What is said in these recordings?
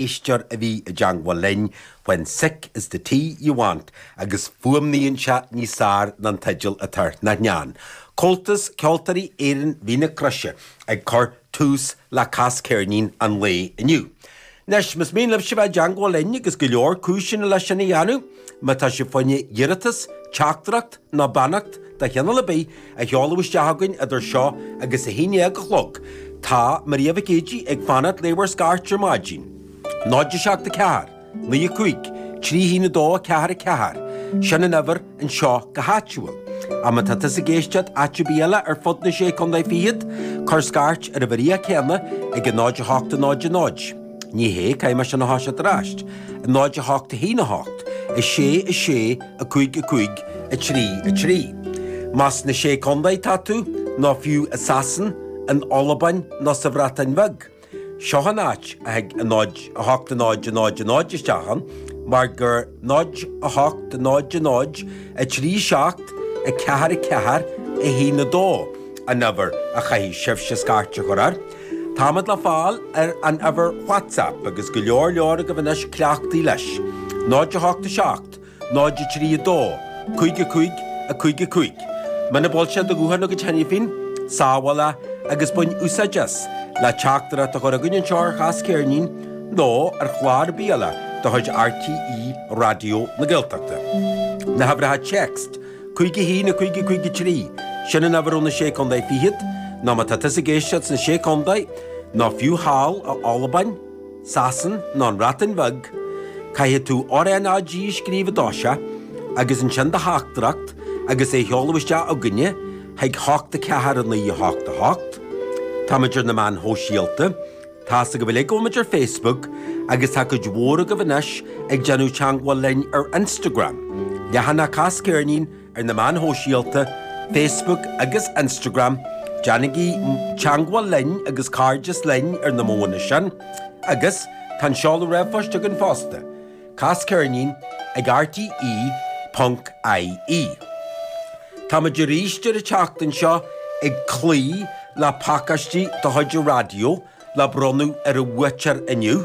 Éisteoir a bhí i dteangmháil linn, When Sick is the Tea You Want, agus fuaimníonn sé níos fearr ná an teideal atá air, nach ndean? Comhaltas Ceoltóirí Éireann Mhín na Croise ag cur tús le Cas Ceirnín an lae inniu. Anois, más mian libhse bheith i dteangmháil linn, agus go leor cúiseanna leis sin a dhéanamh, má tá sibh fá choinne iarratas, teachtaireacht nó beannacht de chineál ar bith a sheoladh isteach chugainn idir seo agus a haon dhéag a chlog, tá Maria Mhic Géidigh ag fanacht le bhur scairt ar maidin. 0 7 4 9 5 3 1 2 4 4, sin an uimhir anseo go háitiúil. Ach má tá tusa ag éisteacht áit ar bith eile ar fud na Sé Contae Fichead, cuir scairt ar an uimhir chéanna ag a 0 8 0 0. Ní hé, caithfidh mé sin a thoiseacht ar ais. 0 8 1 8 6 6 5 5 3 3. Más sna Sé Contae atá tú, nó fiú i Sasain, in Albain nó sa Bhreatain Bheag, Seo an áit a thig an 0, 8, 0, 0, 0 isteach ann, mar gur 0, 8, 0, 0, 3, 7, 4, 4, 1, 2 an uimhir a chaithfidh sibhse scairt a chur air. Táimid le fáil ar an uimhir WhatsApp agus go leor leor agaibh anois cleachtaithe leis, 0, 8, 7, 0, 3, 2, 5, 5, 5, 5. Muna bhfuil sé do ghuthán agat cheana féin, sábháil é agus bain úsáid as le teachtaireacht a chur chugainn anseo ar Chas Ceirnín nó ar chlár ar bith eile de chuid RTÉ Raidió na Gaeltachta. Na huimhreacha text, 5 1 5 5 3, sin an uimhir ó na Sé Contae Fichead, nó má tá tusa ag éisteacht sna Sé Contae, nó fiú thall i Albain, Sasain nó an Bhreatain Bheag, caithfidh tú RNAG a scríobh i dtosach agus ansin do theachtaireacht agus é a sheoladh isteach chugainne chuig 8 4 9 8 8. Táimid ar na meáin shóisialta. Tá's agaibh uilig go bhfuil muid ar Facebook agus tá cuid mhór agaibh anois ag déanamh teangmháil linn ar Instagram. Leathanach Cas Ceirnín ar na meáin shóisialta, Facebook agus Instagram, déanaigí teangmháil linn agus cairdeas linn ar na modhanna sin. Agus tá an seoladh ríomhphoist againn fosta, casceirnín ag rte ponc ie. Táimid arís ar an tseachtain seo ag cloí le pacáistí de chuid an raidió le bronnadh ar an bhuaiteoir inniu.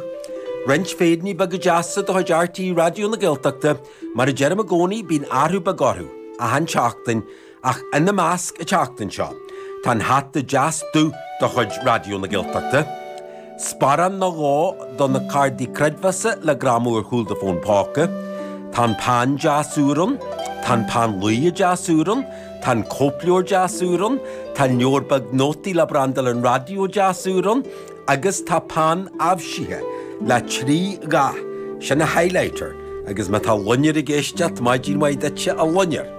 Roinnt féiríní beaga deasa de chuid RTÉ Raidió na Gaeltachta, mar a deirim i gcónaí bíonn athrú beag orthu achan tseachtain ach ina measc an tseachtain seo tá an hata deas dubh de chuid Raidió na Gaeltachta, sparán nó dhó do na cárdaí creidmheasa le greamú ar chúl do fón póca, tá an peann deas úr ann, tá an peann luaidhe deas úr ann, Tá an cóipleabhar deas úr ann, tá an leabhar beag nótaí le brandáil an raidió deas úr ann agus tá peann aibhsithe le 3 dhath, sin a highlighter agus má tá Loinnir ag éisteacht, maidin mhaith duitse a Loinnir.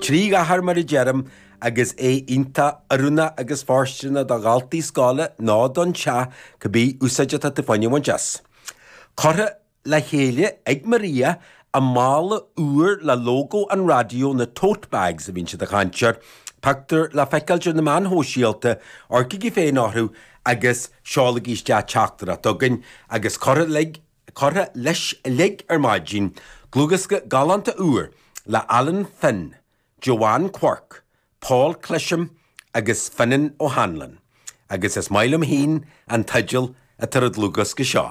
3 dhath air mar a deirim agus é iontach oiriúnach agus fóirsteanach do dhaltaí scoile nó don teach, cibé úsáid atá tú fá choinne a bhaint as. Curtha le chéile ag Maria i mála úr le lógó an raidió, na tote bags a bhíonn siad ag caint air, pictiúr le feiceáilt ar na meáin shóisialta, amharcaigí féin orthu agus seolaigí isteach teachtaireacht chugainn agus curtha leis uilig ar maidin, dlúthdhiosca galánta úr le Alan Finn, Joanne Quirke, Paul Clisham agus Finan O'Hanlon, agus is maith liom féin an teideal atá ar an dlúthdhiosca seo,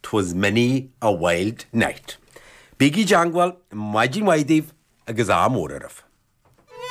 'Twas Many a Wild Night. Bígí i dteangmháil, maidin mhaith daoibh agus ádh mór oraibh.